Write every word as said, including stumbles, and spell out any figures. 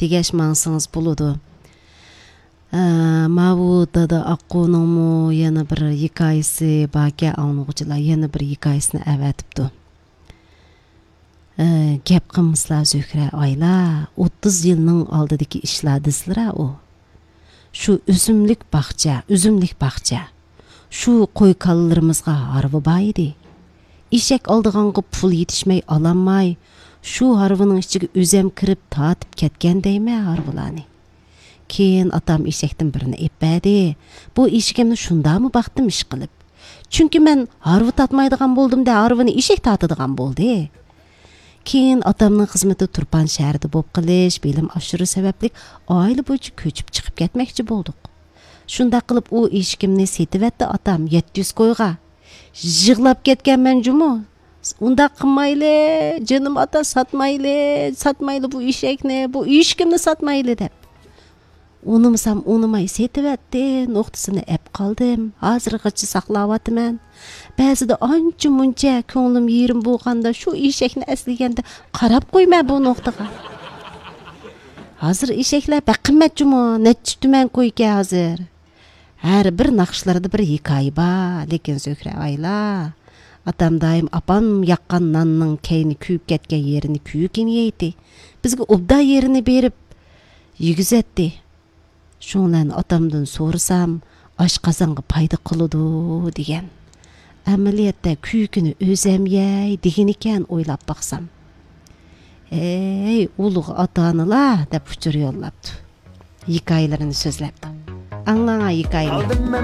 دېگەچ ماڭسىڭىز بولىدۇ. ئە، ماۋۇ دادا ئاققۇنىڭمۇ يەنە بىر ھېكايىسى باركەن، ئاڭلىغۇچىلار يەنە بىر ھېكايىسىنى ئەۋەتىپتۇ. ئە، گەپ قىلمىسىلا زۆھرە ئايلا، ئوتتۇز يىلنىڭ ئالدىدىكى ئىشلار دېسىلىرا ئۇ. شۇ ئۆسۈملۈك باغچە، ئۈزۈملۈك باغچە. شۇ قوي كالىلىرىمىزغا ھارۋا بار ئىدى. ئېشەك ئالدىغانغا پۇل يېتىشمەي ئالالماي، شۇ ھارۋىنىڭ ئىچىگە ئۆزەم كىرىپ تارتىپ كەتكەن دەيمەن ھارۋىلارنى. كېيىن ئاتام ئېشەكتىن بىرنى ئېلىپ بەردى. بۇ ئېشىكىمنى شۇنداقمۇ باقتىم ئىشقىلىپ. چۈنكى مەن ھارۋا تارتمايدىغان بولدۇم دە، ھارۋىنى ئېشەك تارتىدىغان بولدى. كېيىن ئاتامنىڭ خىزمىتى تۇرپان شەھىرىدە بولۇپ قېلىش، بىلىم ئاشۇرۇش سەۋەبلىك ئائىلە بويىچە كۆچۈپ چىقىپ كەتمەكچى بولدۇق. شۇنداق قىلىپ ئۇ ئېشىكىمنى سېتىۋەتتى ئاتام يەتتە يۈز كويغا. يىغلاپ كەتكەنمەن جۇمۇ. ئۇنداق قىلمايلى، جېنىم ئاتا، ساتمايلى، ساتمايلى بۇ ئېشەكنى، بۇ ئېشىكىمنى ساتمايلى دەپ. ئۇنىمىسام ئۇنىماي سېتىۋەتتى، نوختىسىنى ئەپ قالدىم. ھازىرغىچە ساقلاۋاتىمەن. بەزىدە ئانچە مۇنچە كۆڭلۈم يېرىم بولغاندا شۇ ئېشەكنى ئەسلىگەندە قاراپ قويىمەن بۇ نوختىغا. ھازىر ئېشەكلەر بەك قىممەت جۇمۇ، نەچچە تۈمەن كويكەن ھازىر. ھەر بىر ناخشىلىرىدا بىر ھېكايە بار، لېكىن زۆھرە ئايلا، ئاتام دائىم ئاپام ياققان ناننىڭ كەينى كۆيۈپ كەتكەن يېرىنى كۆيۈكىنى يەيتتى. بىزگە ئوبدان يېرىنى بېرىپ يېگۈزەتتى. شۇڭلارنى ئاتامدىن سورىسام، ئاشقازانغا پايدا قىلىدۇ دېگەن. ئەمەلىيەتتە كۆيۈكىنى ئۆزەم يەي دېگىنىكەن ئويلاپ باقسام. ھەي، ئۇلۇغ ئاتا-ئانىلار دەپ ئۇچۇر يوللاپتۇ. ھېكايىلىرىنى سۆزلەپتۇ. ئاڭلاڭا ھېكايىنى.